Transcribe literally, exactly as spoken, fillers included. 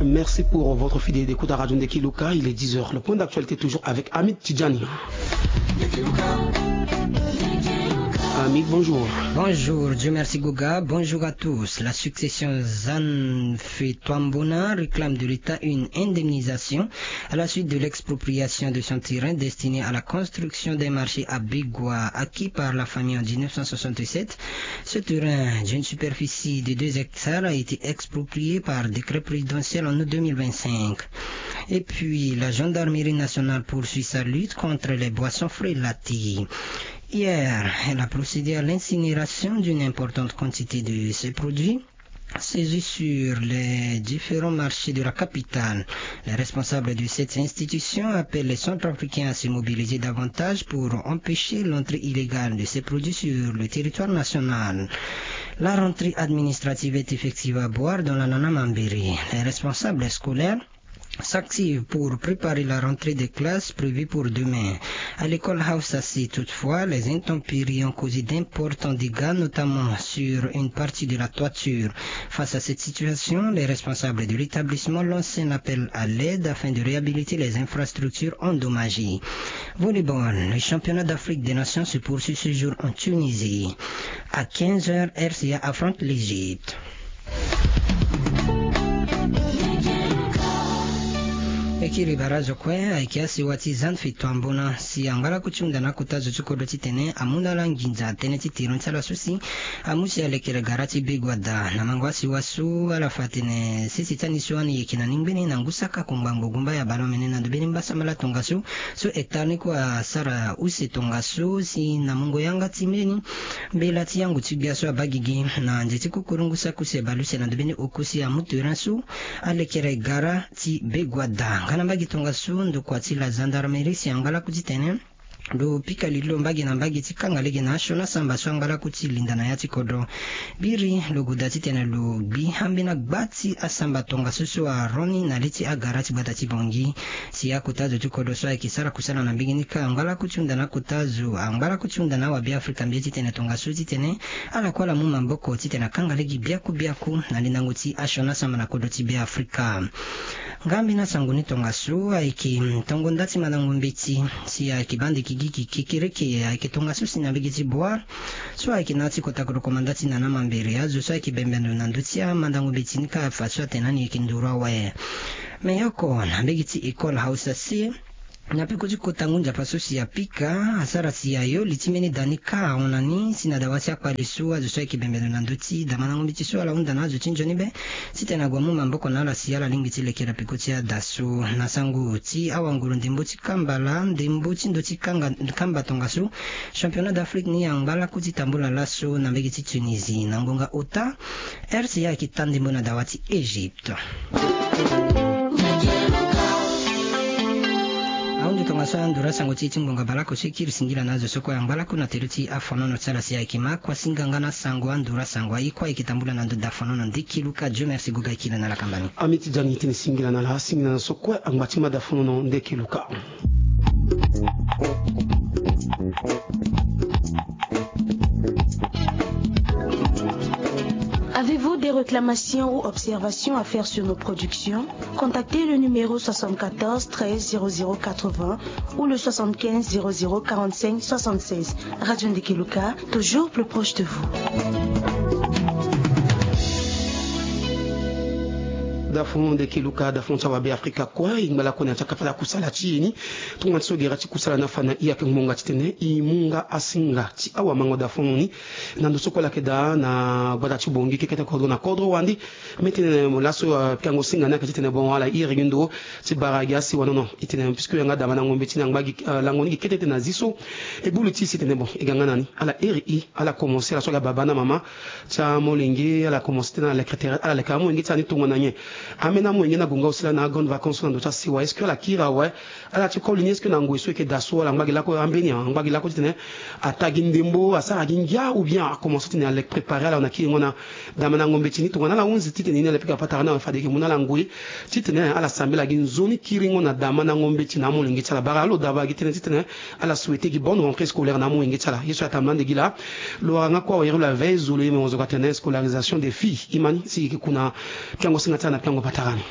Merci pour votre fidélité d'écoute à Radio Ndeki Luka. Il est dix heures. Le point d'actualité toujours avec Hamid Tidjani. Hamid, bonjour. Bonjour, Dieu merci Goga. Bonjour à tous. La succession Zanfetwambona réclame de l'État une indemnisation à la suite de l'expropriation de son terrain destiné à la construction d'un marché à Bégwa, acquis par la famille en dix-neuf cent soixante-sept. Ce terrain d'une superficie de deux hectares a été exproprié par décret présidentiel en août deux mille vingt-cinq. Et puis, la gendarmerie nationale poursuit sa lutte contre les boissons frélatées. Hier, elle a procédé à l'incinération d'une importante quantité de ces produits saisis sur les différents marchés de la capitale. Les responsables de cette institution appellent les Centrafricains à se mobiliser davantage pour empêcher l'entrée illégale de ces produits sur le territoire national. La rentrée administrative est effective à Bouar dans la Nana Mambéré. Les responsables scolaires s'activent pour préparer la rentrée des classes prévue pour demain. À l'école Hausassi, toutefois, les intempéries ont causé d'importants dégâts, notamment sur une partie de la toiture. Face à cette situation, les responsables de l'établissement lancent un appel à l'aide afin de réhabiliter les infrastructures endommagées. Volleyball, le championnat d'Afrique des Nations se poursuit ce jour en Tunisie. À quinze heures, R C A affronte l'Égypte. E kiri bara zo kue ayeke asiwa ti Zanfetwambona si angba laku ti hunda na akota zo ti kodro titene amu na ala nginza tënë ti tiron ti ala so si amu si alekere gara ti Bégwa daa. Na mango asiwa so ala fa atene sese ti ani so ani yeke na ni ngbene na ngu saka kongba ngbogumba ya baleomene na ndö mbeni mbasambala tongaso so hectare ni kue asara use tongaso si na mungo yanga ti mbeni mbela ti yango ti gbia so abaa gigi na nze ti kukurungu saki use baleuse na ndö mbeni oko si amu terrain so alekere gara ti Bégwa daa. Nga na mbage tongaso ndokua ti la gendarmerie si angba laku titene lo pika lili lo mbage na mbage ti kanga lege na asioni asamba so angba laku ti linda na ya ti kodro. Biri lo goda titene lo gbi ambeni agba ti asamba tongaso so aroni na li ti agara ti gbata ti Bangui. Si akota zo ti kodro so ayeke sara kusala na mbage ni kâ angba laku ti hunda na akota zo angba laku ti hunda na awabe Afrika mbi ye titene tongaso titene ala kue ala mu maboko titene akanga lege biaku biaku na lindango ti asioni asamba na kodro ti be Afrika. Nga ambeni asango ni tongaso ayeke tongo nda ti mandango mbeti si ayeke bande kigiki kekereke ayeke tongaso si na mbage ti Bouar so ayeke na ya ti kota kodro komanda ti Nana Mambéré azo so ayeke bembe ndo na ndö ti amandango mbeti ni kâ afa so atene ani yeke nduru awe. Me oko na mbage ti école Hausassi na peko ti kota ngu nzapa so si apika asara si ayo li ti mbeni da ni kâ ahon na ni si na dawa ti akpale so azo so ayeke bembe ndo na ndö ti damandango mbeti so ala hunda na azo ti nzoni be titene ague amu maboko na ala si ala lingbi ti lekere peko ti ada so. Na sango ti awanguru ndembo ti kamba laa ndembo ti ndo ti kanga kamba tongaso championnat d'Afrique ni angba laku ti tambula laso na mbage ti Tunisie na ngonga ota. R C A ayeke ta ndembo na dawa ti Égypte. Ahundu tongaso anduru asango ti e ti ngonga baleoko so e kiri singila na azo so kue angba laku na tere ti afonono ti ala si ayeke ma kua singa nga na sango anduru asango aye kue ayeke tambula na ndo dafonono ndeki luka Dieu merci goga e kiri na lakamba ni. Ami ti jani tene singila na ala singila na so kue angba ti ma dafonono ndeki luka. Avez-vous des réclamations ou observations à faire sur nos productions ? Contactez le numéro soixante-quatorze treize zéro zéro quatre-vingts ou le soixante-quinze zéro zéro quarante-cinq soixante-seize. Radio Ndeke Luka, toujours plus proche de vous. Dafono Ndeke Luka, dafono ti awabe Afrika kue, e ngba lakue na ya ti akapa ti akusala ti e ni. Tongana ti so gere ti kusala ni afa na e ayeke ngbonga titene e mu nga asinga ti awamango dafono ni. Na ndo so kue ala yeke daa na gbata ti Bangui kekete kodro na kodro wande. Mbi tene mo laso, euh, pikango singa ni ayeke titene bon ala iri gi ndo ti bara gi asiwa nono. E tene puisque yanga damandango mbeti ni angba gi, euh, lango ni gi kete tene na zi so. E bulu ti e si tene bon e ga nga na ni ala iri e, ala commencer ala so aga baba na mama ti amolenge, ala commencer titene ala leke tere, ala leke amolenge ti ala ni tongana nyen. Ambeni amolenge ni ague nga aussi laa na agrandes vacances so na ndo ti asiwa, est-ce que ala kiri awe? Ala ti koli ni est-ce que na ngoi so e yeke daa so ala ngba gi lako ambeni, angba gi lako titene ata gi ndembo, asara gi ngia, ou bien akomanse titene aleke préparer ala na kiringo na damandango mbeti ni tongana ala hunzi titene e ni ala pika patara ni awe fade e yeke mu na ala ngoi titene ala sambela gi nzoni kiringo na damandango mbeti na amolenge ti ala. Bara alo daba gi tënë titene ala souhaiter gi bonne rentrée scolaire na amolenge ti ala. Ye so atambula ande gi laa lo wara nga kue awere lo la veille zolo ye me wonzo ka tene scolarisation des filles. E ma ni si e yeke ku na pikango singa ti ala na pikango patara ni.